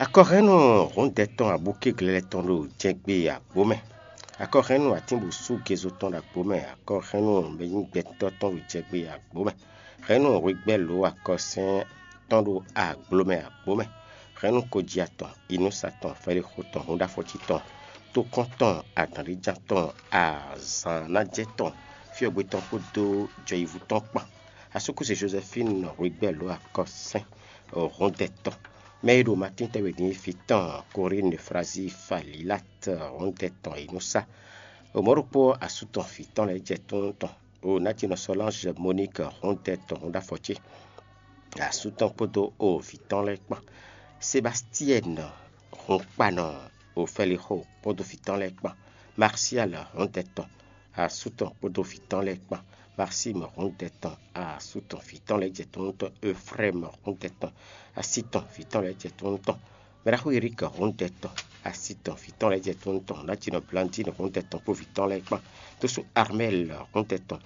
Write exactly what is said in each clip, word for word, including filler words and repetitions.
Akɔhɛ́nnu hǔndɛ tɔn abúkéglɛ́ tɔn ɖo jɛgbé agbǒ mɛ. Akɔhɛ́nnu atínbǔsú gezo tɔn ɖo agbǒ mɛ. Akɔhɛ́nnu mɛnyígbɛtɔ́ tɔn ɖo jɛgbé agbǒ mɛ. Hɛ̌nnu hwegbɛ́ lǒ akɔsɛ́n tɔn ɖo agblo mɛ agbǒ mɛ. Hɛ̌nnu koji atɔn, inúsa tɔn, fɛlixo tɔn, húnɖáfɔjí tɔn, tókɔ́n tɔn, adǎnɖéjan tɔn, azǎn ná jɛ tɔn, fyɔ́gbe tɔn kpódó jɔyivu tɔn kpán. Asúkúsi Jozɛfínu hwegbɛ́ lǒ akɔsɛ́n húndɛ tɔn. Mɛ e ɖo Matín tɛ́nwe din fí tɔn, Korín Eflazí Falilát húndɛ tɔn e nɔ sá. O mɔ̌ ɖokpó asú tɔn vǐ tɔn lɛ́ɛ jɛ tónú tɔn. O Natinɔ Sɔlánzɛ Moník húndɛ tɔn húnɖáfɔ ce. Asú tɔn kpódó o vǐ tɔn lɛ́ɛ kpán. Sebastíɛn hunkpanɔ o Fɛlixo kpódó vǐ tɔn lɛ́ɛ kpán. Marsial húndɛ tɔn asú tɔn kpódó vǐ tɔn lɛ́ɛ kpán. Maxime húndɛ tɔn asú tɔn vǐ tɔn lɛ́ɛ jɛ tónú tɔn. Efrɛ́m húndɛ tɔn así tɔn vǐ tɔn lɛ́ɛ jɛ tónú tɔn. Mɛɖaxó Erík húndɛ tɔn así tɔn vǐ tɔn lɛ́ɛ jɛ tónú tɔn. Natinɔ Blandín húndɛ tɔn kpó vǐ tɔn lɛ́ɛ kpán. Tósú Armɛ́l húndɛ tɔn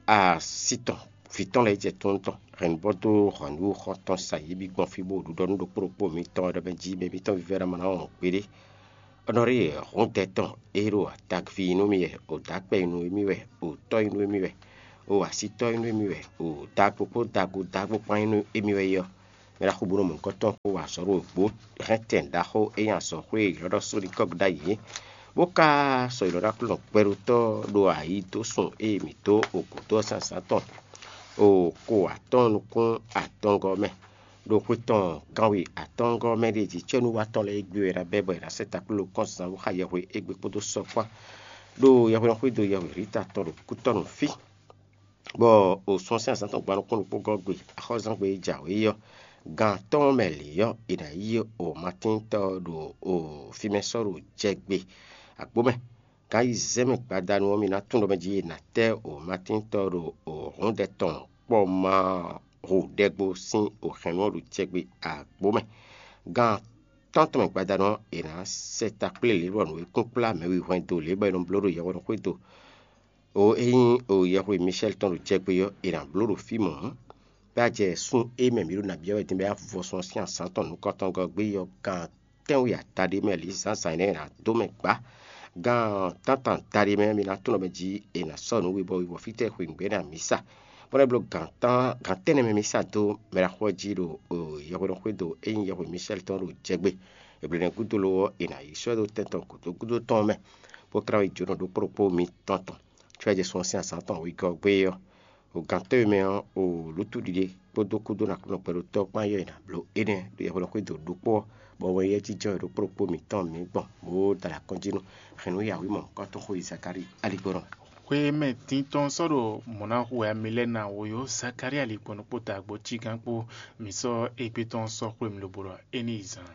así tɔn vǐ tɔn lɛ́ɛ jɛ tónú tɔn. Hɛ̌nnubɔ́ dó hɔ̌nnu xɔ́ntɔn sa yě bǐ gbɔn fí bó ɖuɖɔ nú ɖokpó ɖokpó mitɔn e ɖɔ mɛ jí mɛ mitɔn vívɛ́ ná ma ná wɔn gbeɖé. Ɔnɔrí hɔndɛ́ tɔn e ɖo adagvi nú mì wɛ, o dǎkpɛ nú émí wɛ, o tɔ́ nú émí wɛ, o asítɔ́ nú émí wɛ, o dagbo kpó dago dagbo kpán nú émí wɛ é ɔ́, mɛ ɖaxó bó nɔ mɔ nukɔn tɔn kpó wa azɔ̌ ɖo gbǒ hɛntɛn ɖaxó e nyí azɔ̌xwé e ylɔ́ ɖɔ Sólikɔ́g ɖ'ayǐ é, bó ka sɔ́ ylɔ́ ɖó Aklúnɔ gbɛɖótɔ́ ɖo ayǐ dó sun e mǐ dó o gǔdo ɔ́ sín azǎn tɔn, o ko atɔ́ɔ́n nukún atɔngɔ́ mɛ. Ɖo xwe tɔn kanwe atɔ́ɔ́ngɔ́ mɛ ɖé jí cɛ́núwatɔ́ lɛ́ɛ égbé wɛ è nǎ bɛ́ bɔ è nǎ sɛ́ takplélo kɔn zǎn bó xa yɛhwe égbé kpódó sɔ́ kpán, ɖo yɛhweɖɔxwé dó yɛhwe Rita tɔn ɖo kútɔ́ nǔ fí, bɔ o sun ɔ́ sín azǎn tɔn gba nukún ɖokpó gɔ́ gbe axɔ́zángbé e jǎwe é ɔ́, gan atɔ́ɔ́n mɛ lě ɔ́, è nǎ yí o Matíntɔ́ ɔ́ ɖo o fí mɛ sɔ́ ɖo jɛgbe agbǒ mɛ. Gan ayizɛ́n mɛ gbadanu ɔ́, mi ná tunwun ɖɔ mɛ jí è nǎ tɛ́ o Matíntɔ́ ɔ́ ɖo o hɔ̌ndɛ tɔn kpɔ́ ma hu ɖɛgbo sín o hɛ̌nnu ɔ́ ɖo jɛgbe agbǒ mɛ. Gan tántɔn mɛ gbadanu ɔ́, è nǎ sɛ takplé lě bɔ nǔ e kún kplá mɛ wihwɛn dó lě bɔ è nɔ bló ɖo yɛhweɖɔxwé do. O é nyí o yɛhwe Mishɛ́l tɔn ɖo jɛgbe ɔ́, è nǎ bló ɖo fí mɔ̌. Bɛ́ a jɛ sun e mɛ mǐ ɖo nǎ byɔ́ wɛ din bɔ é ná vɔ sun ɔ́ sín azǎn tɔn nukɔntɔngɔ́ gbé ɔ́, gan tɛ́nwe adaɖé mɛ lǐ zǎnzǎn énɛ́ è nǎ dó mɛ gbǎ. Gan tántɔn adaɖé mɛ mi ná tunwun mɛ jí è nǎ sɔ́ nǔ webɔ webɔ fítɛ́ xweyǐgbe énɛ́ amǐsa, bó ná bló gan tɛ́nɛ mɛ mi sa dó mɛ ɖaxó ɔ́ jí ɖo yɛhweɖɔxwé do é nyí yɛhwe Mishɛ́l tɔn ɖo jɛgbe. Eblenɛ gúdo lo ɔ́, è nǎ yi sɔ́ ɛ dó tɛn tɔn gǔdo gúdo tɔn mɛ, bó tlá yi jǒnɔ ɖokpó ɖokpó mitɔn tɔn, có é jɛ sun ɔ́ sín azǎn tɔn wegɔ́ gbé ɔ́. O gǎntɔ́ e mɛ ɔ́, o lǔtúɖiɖe kpódó kúdó nɔ Aklúnɔ gbɛɖótɔ́ kpán yɔ́ è nǎ bló énɛ́ ɖo yɛhweɖɔxwé do ɖokpó ɔ́, bɔ wɛnyɛ́ jínjɔ́n e ɖokpó ɖokpó mǐtɔn mǐ gbɔn, bó da ɖo akɔ́njí nú hɛ̌nnu yǎwǐmɔ nukɔntɔn xóyi Zakalíi aligbɔnɔ. Xwé mɛ dintɔn sɔ́ ɖo mɔ̌ ná hu wɛ Amilɛ́na wo yó, Zakalíi aligbɔnɔ kpó dagbo cígán kpó. Mǐ sɔ́ égbé tɔn sɔ́ xwé mì lobo ɖɔ é ní yi zan.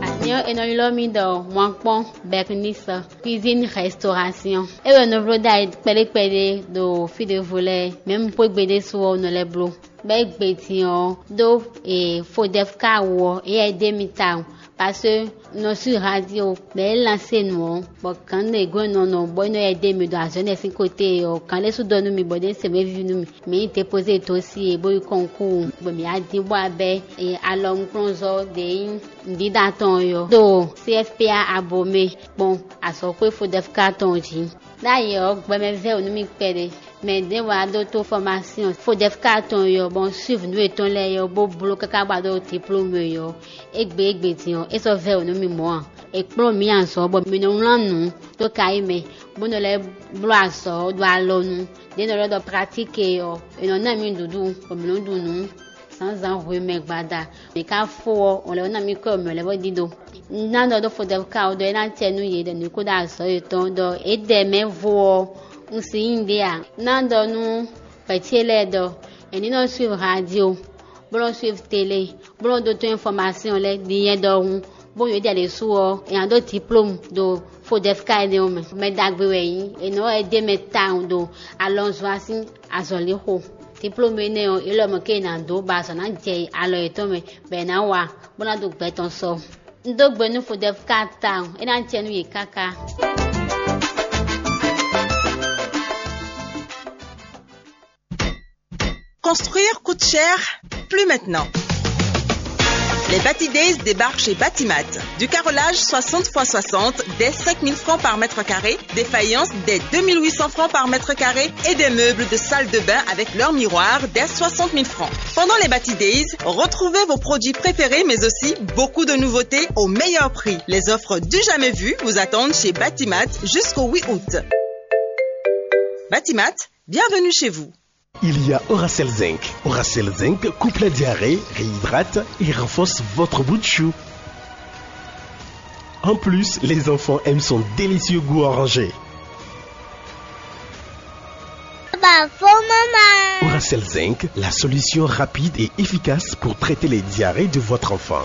Anyɔ e nɔ ylɔ́ mì ɖɔ Mwankpɔn Bɛknisɔ, cuisine restauration. É wɛ nɔ bló ɖ'ayǐ kpɛɖé kpɛɖé ɖo fí ɖěvo lɛ́ɛ, mɛ̌ un xwé gbe ɖésú ɔ́, un nɔ lɛ́ bló. Bɔ é gbe din ɔ́, ɖó e Fodɛfka wú ɔ́, éyɛ́ é ɖe mì tawun, parce que un nɔ sú radio, bɔ é lansé nǔ ɔ́, bɔ gǎn ɖě gɔ́n nɔ nɔ bɔ é nɔ yɛ ɖe mì ɖo azɔ̌ énɛ́ sín côté ɔ́, gǎn ɖé sú ɖɔ nú mì bɔ é ɖe se wěví nú mì. Mǐ yi dépozé dó sí e bó yi kɔnkúu, bɔ mǐ wá dín bó wá bɛ́ e alɔnukplɔ́nzɔ́ ɖě nyí nǔɖíɖa tɔn ɔ́ ɖo C F P A Abomey kpɔ́n azɔ̌xwé Fodɛfka tɔn jí. Ɖ'ayǐ ɔ́, gbɛmɛ vɛ́ wǔ nú mì kpɛɖé. Mɛ ɖěvo wá ɖótó fɔ́másyɔn Fodɛfka tɔn e ɔ́, bɔ un suiv nǔ yětɔn lɛ́ɛ ɔ́, bó bló káká bó wá ɖó diplôme e ɔ́, égbé égbé din ɔ́, é sɔ́ vɛ́ wǔ nú mì mɔ̌ ǎ. È kplɔ́n mǐ azɔ̌ bɔ mǐ nɔ wlán nǔ dó kayí mɛ, bó nɔ lɛ́ bló azɔ̌ ɖo alɔnu. Ɖě nɔ ɖɔ ɖɔ pratique ɔ́, è nɔ ná mì nǔɖuɖu, bɔ mǐ nɔ ɖu nǔ zǎnzǎn hwemɛ gbada. Mǐ ka fó ɔ́, ɔn lɛ́ ná mì kɔ́ mǐ lɛ́ bó dídó. Un ná ɖɔ ɖó Fodɛfka ɔ́ ɖɔ é ná acɛ nú yě ɖɔ nǔ kó ɖo azɔ̌ yětɔn ɖɔ é ɖɛ mɛ vo ɔ́, un si nyí ɖě ǎ. Un ná ɖɔ nú vɛ̌ ce lɛ́ɛ ɖɔ è ní nɔ suiv radio, bó nɔ suiv télé, bó nɔ ɖótó infɔmasyɔn lɛ́ɛ ɖi nyɛ ɖɔhun, bó nyɔ̌ ɖi alě su ɔ́, è nǎ ɖó diplôme ɖo Fodɛfka énɛ́ ɔ́ mɛ. Mɛ ɖagbe wɛ yě, è nɔ wɛ ɖ'é mɛ tawun ɖo alɔnzɔ́ sín azɔ̌lixo. Diplôme énɛ́ ɔ́, é lɔ mɔ̌ ké è nǎ dó bɔ azɔ̌ ná jɛ alɔ yětɔn mɛ, bɔ è nǎ wa, bó ná ɖo gbɛ tɔn sɔ. Un dó gbe nú Fodɛfka tawun, é ná jɛ nú yě káká. Construire coûte cher, plus maintenant. Les Bati Days débarquent chez Batimat. Du carrelage soixante fois soixante dès cinq mille francs par mètre carré, des faïences dès deux mille huit cents francs par mètre carré et des meubles de salle de bain avec leur miroir dès soixante mille francs. Pendant les Bati Days, retrouvez vos produits préférés mais aussi beaucoup de nouveautés au meilleur prix. Les offres du jamais vu vous attendent chez Batimat jusqu'au huit août. Batimat, bienvenue chez vous. Il y a Oracel Zinc. Oracel Zinc coupe la diarrhée, réhydrate et renforce votre bout de chou. En plus, les enfants aiment son délicieux goût orangé. Bah, faut maman. Oracel Zinc, la solution rapide et efficace pour traiter les diarrhées de votre enfant.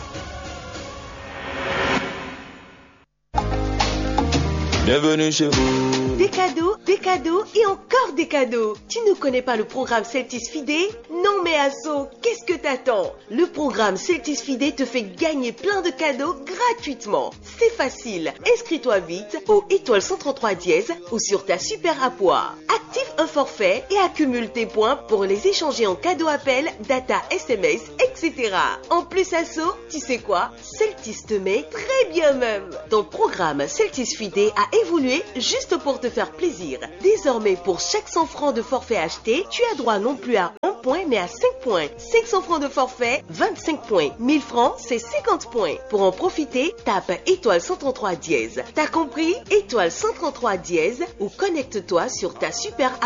Bienvenue chez vous. Des cadeaux, des cadeaux et encore des cadeaux. Tu ne connais pas le programme Celtis Fidé ? Non mais Asso, qu'est-ce que t'attends ? Le programme Celtis Fidé te fait gagner plein de cadeaux gratuitement. C'est facile. Inscris-toi vite au étoile cent trente-trois dièse ou sur ta super app. Active un forfait et accumule tes points pour les échanger en cadeau appel, data, S M S, et cetera. En plus, Asso, tu sais quoi ? Celtis te met très bien même. Ton programme Celtis Fidé a évolué juste pour te faire plaisir. Désormais, pour chaque cent francs de forfait acheté, tu as droit non plus à un point, mais à cinq points. Cinq cents francs de forfait, vingt-cinq points. Mille francs, c'est cinquante points. Pour en profiter, tape étoile cent trente-trois dièse. T'as compris ? Étoile cent trente-trois dièse ou connecte-toi sur ta super app.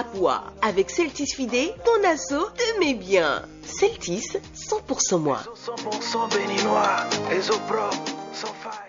Avec Celtis Fidé, ton Asso te met bien. Celtis, cent pour cent moi. Cent pour cent béninois, les eaux propres, sans faille.